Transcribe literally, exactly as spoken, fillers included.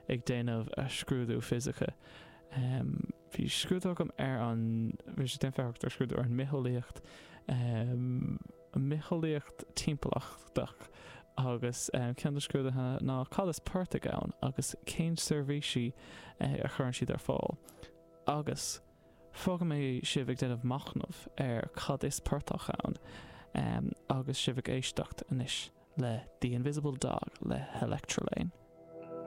ag déanamh a scrúdú fisice. Um, bhí scrúdú agam ar an bhí sé déanamh ar scrúdú ar an mbitheolaíocht um, mbitheolaíocht timpeallachtach agus um, ceann de scrúduithe ná cad is portaigh ann agus cén seirbhísí uh, a chuireann siad ar fáil. Agus fágfaidh mé sibh ag déanamh machnamh ar cad is portach ann um, agus sibh ag éisteacht anois le The Invisible Dog le Electrelane.